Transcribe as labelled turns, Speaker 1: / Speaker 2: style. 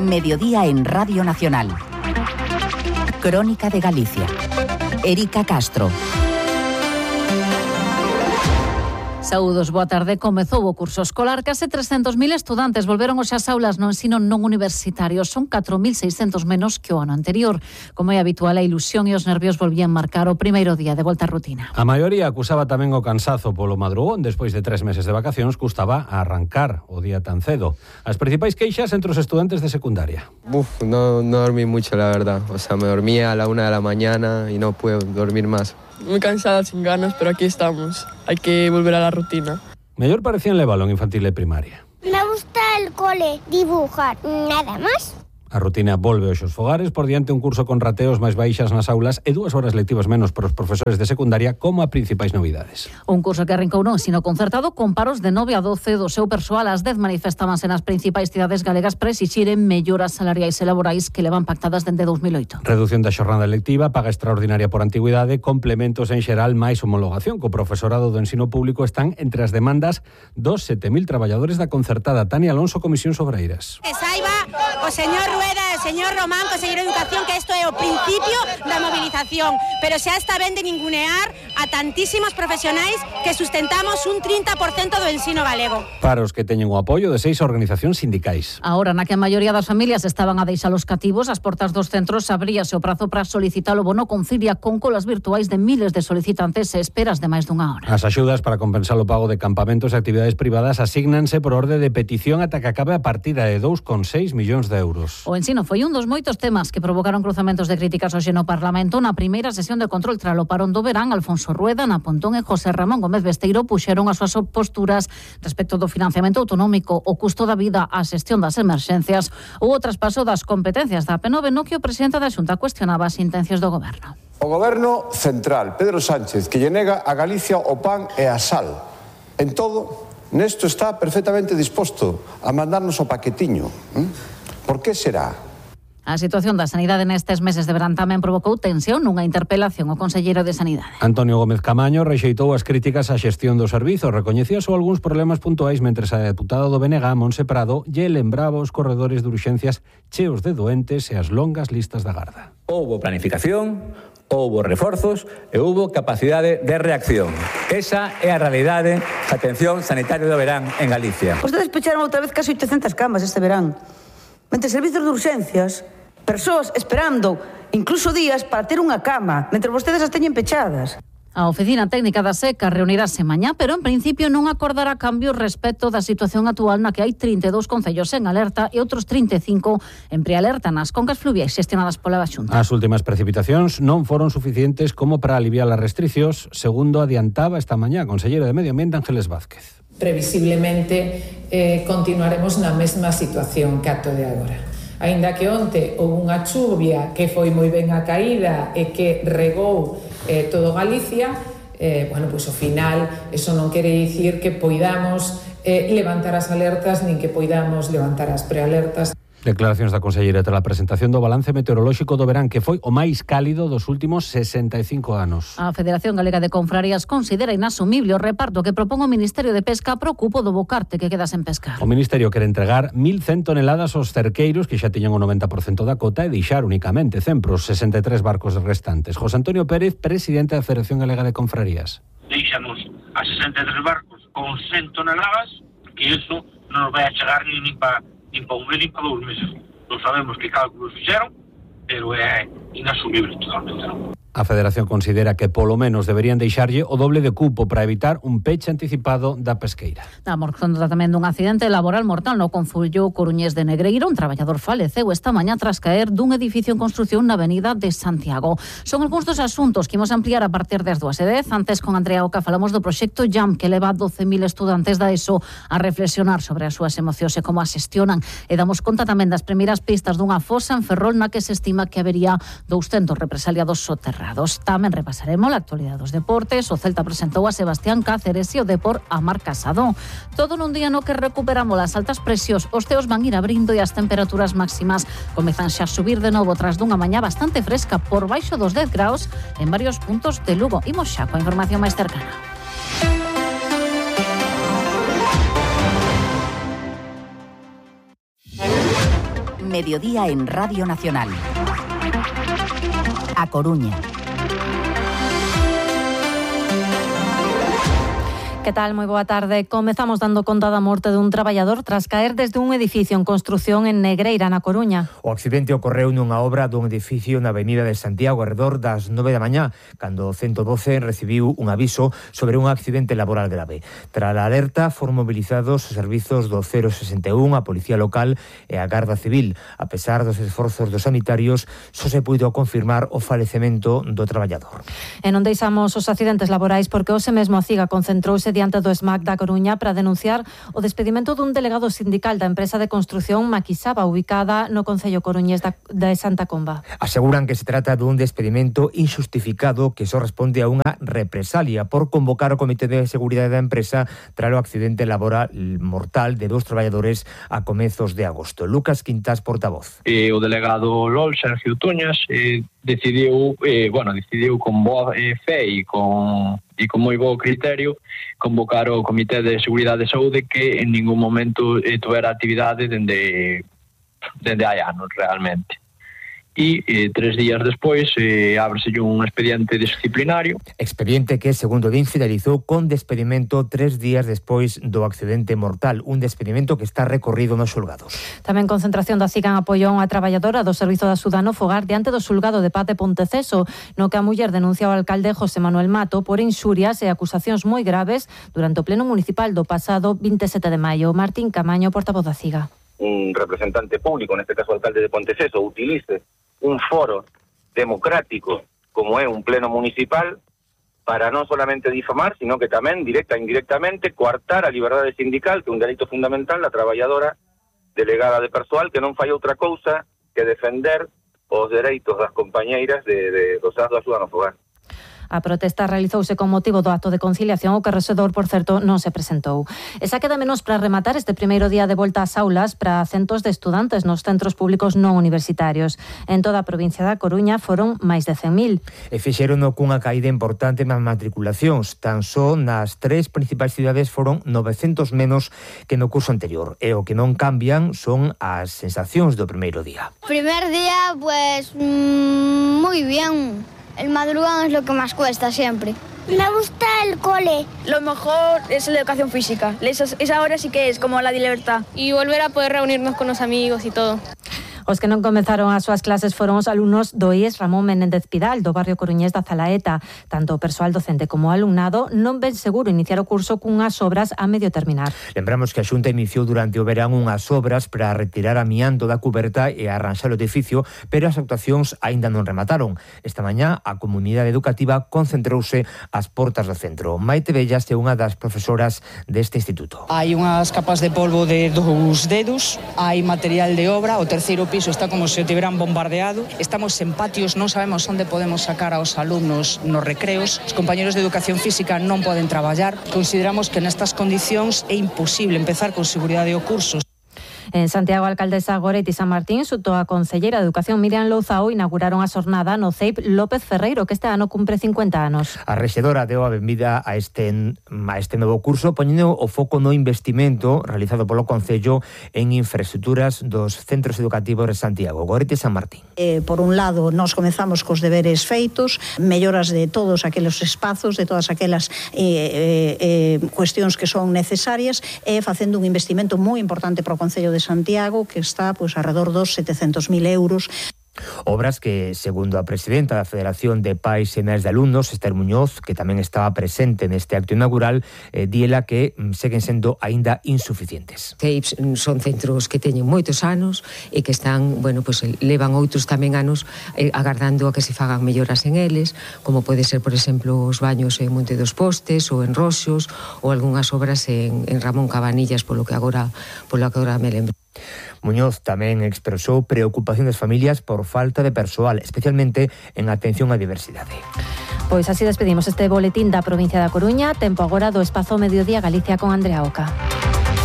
Speaker 1: Mediodía en Radio Nacional. Crónica de Galicia. Erika Castro.
Speaker 2: Saúdos, boa tarde. Comezou o curso escolar. Case 300.000 estudantes volveron hoxe ás aulas no ensino non universitario. Son 4.600 menos que o ano anterior. Como é habitual, a ilusión e os nervios volvían marcar o primeiro día de volta á rutina.
Speaker 3: A maioría acusaba tamén o cansazo polo madrugón. Despois de 3 meses de vacacións, custaba arrancar o día tan cedo. As principais queixas entre os estudantes de secundaria.
Speaker 4: No dormí mucho, la verdad. O sea, me dormía a la 1 de la mañana y no puedo dormir más.
Speaker 5: Muy cansada, sin ganas, pero aquí estamos. Hay que volver a la rutina.
Speaker 3: Mellor parecía en Lévalo, en infantil e primaria.
Speaker 6: Me gusta el cole, dibujar, nada más.
Speaker 3: A rutina volve hoxe aos fogares por diante un curso con rateos máis baixas nas aulas e 2 horas lectivas menos para os profesores de secundaria como a principais novidades.
Speaker 2: Un curso que arrincou no ensino concertado con paros de 9 a 12 do seu persoal. As 10 manifestábanse nas principais cidades galegas para exixiren melloras salariais e laborais que levan pactadas dende 2008.
Speaker 3: Reducción da xornada lectiva, paga extraordinaria por antigüidade, complementos en xeral máis homologación. Co profesorado do ensino público están entre as demandas dos 7.000 traballadores da concertada. Tania Alonso, Comisións Obreiras.
Speaker 7: Que saiba o señor Rueda e o señor Román, conselleiro de Educación, que isto é o principio da movilización, pero xa está ben de ningunear a tantísimos profesionais que sustentamos un 30% do ensino galego.
Speaker 3: Para os que teñen o apoio de 6 organizacións sindicais.
Speaker 2: Ahora, na que a maioría das familias estaban a deixar os cativos, as portas dos centros abríase o prazo para solicitar o bono Concilia con colas virtuais de miles de solicitantes e esperas de máis dunha hora.
Speaker 3: As axudas para compensar o pago de campamentos e actividades privadas asígnanse por orde de petición ata que acabe a partida de 2,6 millóns de euros.
Speaker 2: O ensino foi un dos moitos temas que provocaron cruzamentos de críticas hoxe no Parlamento. Na primeira sesión de control tras o parón do verán, Alfonso Rueda, Ana Pontón e José Ramón Gómez Besteiro puxeron as súas posturas respecto do financiamento autonómico, o custo da vida, a xestión das emerxencias ou o traspaso das competencias da P9, no que o presidente da Xunta cuestionaba as intencións do goberno.
Speaker 8: O goberno central, Pedro Sánchez, que lle nega a Galicia o pan e a sal. En todo, nesto está perfectamente disposto a mandarnos o paquetiño. Por que será?
Speaker 2: A situación da sanidade nestes meses de verán tamén provocou tensión nunha interpelación ao conselleiro de Sanidade.
Speaker 3: Antonio Gómez Camaño rexeitou as críticas á xestión do servizo, recoñecía só algúns problemas puntuais, mentres a deputada do BNG, Montse Prado, lle lembraba os corredores de urxencias cheos de doentes e as longas listas da garda.
Speaker 9: Houbo planificación, houbo reforzos e houbo capacidade de reacción. Esa é a realidade da atención sanitaria do verán en Galicia.
Speaker 10: Vostedes pecharon outra vez casi 800 camas este verán. Mentre servizos de urxencias, persoas esperando incluso días para ter unha cama, mentre vostedes as teñen pechadas.
Speaker 2: A Oficina Técnica da Seca reunirase mañá, pero en principio non acordará cambios respecto da situación actual na que hai 32 concellos en alerta e outros 35 en prealerta nas concas fluviais xestionadas pola Xunta.
Speaker 3: As últimas precipitacións non foron suficientes como para aliviar as restricións, segundo adiantaba esta mañá a conselleira de Medio Ambiente, Ángeles Vázquez.
Speaker 11: Previsiblemente continuaremos na mesma situación que ato de agora. Aínda que onte houve unha chuvia que foi moi ben a caída e que regou todo Galicia, pois ao final eso non quere dicir que poidamos levantar as alertas nin que poidamos levantar as prealertas.
Speaker 3: Declaracións da conselleira tras a presentación do balance meteorolóxico do verán, que foi o máis cálido dos últimos 65 anos.
Speaker 2: A Federación Galega de Confrarías considera inasumible o reparto que propón o Ministerio de Pesca pro cupo do bocarte que queda sen pescar.
Speaker 3: O Ministerio quere entregar 1.100 toneladas aos cerqueiros que xa tiñan o 90% da cota e deixar únicamente 100 pros 63 barcos restantes. José Antonio Pérez, presidente da Federación Galega de Confrarías.
Speaker 12: Deixamos a 63 barcos con 100 toneladas, que iso non nos vai a chegar nin para un mes, nin para 2 meses. Non sabemos que cálculos fixeron, pero é inasumible totalmente, non?
Speaker 3: A Federación considera que polo menos deberían deixarlle o doble de cupo para evitar un peche anticipado da pesqueira.
Speaker 2: Estamos contando tamén dun accidente laboral mortal no concello coruñés de Negreiro. Un traballador faleceu esta mañá tras caer dun edificio en construción na avenida de Santiago. Son algúns dos asuntos que imos ampliar a partir das 2:10. Antes, con Andrea Oca, falamos do proxecto JAM, que leva 12.000 estudantes da ESO a reflexionar sobre as súas emocións e como as xestionan. E damos conta tamén das primeiras pistas dunha fosa en Ferrol na que se estima que habería 200 represaliados soterrados. Tamén repasaremos a actualidade dos deportes. O Celta presentou a Sebastián Cáceres e o Depor a Marc Casado. Todo nun día no que recuperamos as altas presións. Os teos van ir abrindo e as temperaturas máximas comezan xa a subir de novo tras dunha mañá bastante fresca por baixo dos 10 graus en varios puntos de Lugo. Imos xa coa información máis cercana.
Speaker 1: Mediodía en Radio Nacional. A Coruña.
Speaker 2: Que tal? Moi boa tarde. Comezamos dando conta da morte dun traballador tras caer desde un edificio en construción en Negreira, na Coruña.
Speaker 13: O accidente ocorreu nunha obra dun edificio na avenida de Santiago arredor das 9 da mañá, cando o 112 recibiu un aviso sobre un accidente laboral grave. Tras a alerta, foron mobilizados os servizos do 061, a Policía Local e a Garda Civil. A pesar dos esforzos dos sanitarios, só se puido confirmar o falecemento do traballador.
Speaker 2: E non deixamos os accidentes laborais porque hoxe mesmo a CIGA concentrouse diante do SMAC da Coruña para denunciar o despedimento dun delegado sindical da empresa de construción Maquisaba, ubicada no concello coruñés de Santa Comba.
Speaker 13: Aseguran que se trata dun despedimento injustificado que só responde a unha represalia por convocar o Comité de Seguridade da empresa tras o accidente laboral mortal de dos traballadores a comezos de agosto. Lucas Quintás, portavoz.
Speaker 14: O delegado LOL, Sergio Tuñas, decidiu con boa fe e con moi bo criterio convocar o Comité de Seguridade e Saúde que en ningún momento tuvera actividade dende hai anos realmente. E 3 días despois ábreselle un expediente disciplinario.
Speaker 13: Expediente que, segundo din, finalizou con despedimento 3 días despois do accidente mortal, un despedimento que está recorrido nos xulgados.
Speaker 2: Tamén concentración da CIGA en apoio a unha traballadora do Servizo de Axuda no Fogar diante do xulgado de paz de Ponteceso, no que a muller denuncia ao alcalde José Manuel Mato por inxurias e acusacións moi graves durante o pleno municipal do pasado 27 de maio. Martín Camaño, portavoz da CIGA.
Speaker 15: Un representante público, neste caso o alcalde de Ponteceso, utilice un foro democrático como é un pleno municipal para non solamente difamar, sino que tamén, directa e indirectamente, coartar a liberdade sindical, que é un dereito fundamental da traballadora delegada de persoal, que non fai outra cousa que defender os dereitos das compañeiras dos do Axuda no Fogar.
Speaker 2: A protesta realizouse con motivo do acto de conciliación, o que o rexedor, por certo, non se presentou. E xa queda menos para rematar este primeiro día de volta ás aulas para centos de estudantes nos centros públicos non universitarios. En toda a provincia da Coruña foron máis de 100.000.
Speaker 13: E fixerono cunha caída importante nas matriculacións. Tan só nas 3 principais cidades foron 900 menos que no curso anterior. E o que non cambian son as sensacións do primeiro día.
Speaker 6: Primer día, pues, muy bien. El madrugón es lo que más cuesta siempre. Me gusta el cole.
Speaker 16: Lo mejor es la educación física. Esa hora sí que es como la de libertad.
Speaker 17: Y volver a poder reunirnos con los amigos y todo.
Speaker 2: Os que non comenzaron as súas clases foron os alumnos do IES Ramón Menéndez Pidal, do barrio coruñés da Zalaeta. Tanto o persoal docente como o alumnado non ven seguro iniciar o curso cunhas obras a medio terminar.
Speaker 13: Lembramos que a Xunta iniciou durante o verán unhas obras para retirar amianto da cuberta e arranxar o edificio, pero as actuacións aínda non remataron. Esta mañá a comunidade educativa concentrouse ás portas do centro. Maite Bellas é unha das profesoras deste instituto.
Speaker 18: Hai unhas capas de polvo de 2 dedos, hai material de obra, o terceiro piso está como se o tiveran bombardeado. Estamos en patios, non sabemos onde podemos sacar aos alumnos nos recreos. Os compañeros de educación física non poden traballar. Consideramos que nestas condicións é imposible empezar con seguridade o curso.
Speaker 2: En Santiago, a alcaldesa Goretti San Martín xunto a concelleira de Educación Miriam Louzao inauguraron a xornada no CEIP López Ferreiro, que este ano cumpre 50 anos.
Speaker 13: A rexedora deu a benvida a este novo curso, poñendo o foco no investimento realizado polo Concello en infraestructuras dos centros educativos de Santiago. Goretti San Martín.
Speaker 19: Por un lado, nós comezamos cos deberes feitos, melloras de todos aqueles espazos, de todas aquelas cuestións que son necesarias, e facendo un investimento moi importante para o Concello de Santiago, que está alrededor dos 700.000 euros.
Speaker 13: Obras que, segundo a presidenta da Federación de Pais e Nais de Alumnos, Esther Muñoz, que tamén estaba presente neste acto inaugural, diela que seguen sendo aínda insuficientes.
Speaker 20: CEIPs son centros que teñen moitos anos e que están, levan outros tamén anos agardando a que se fagan melloras en eles, como pode ser, por exemplo, os baños en Monte dos Postes ou en Roxos, ou algunhas obras en Ramón Cabanillas, polo que agora me lembro.
Speaker 13: Muñoz tamén expresou preocupación das familias por falta de persoal, especialmente en atención á diversidade.
Speaker 2: Pois así despedimos este boletín da provincia da Coruña. Tempo agora do espazo Mediodía Galicia con Andrea Oca.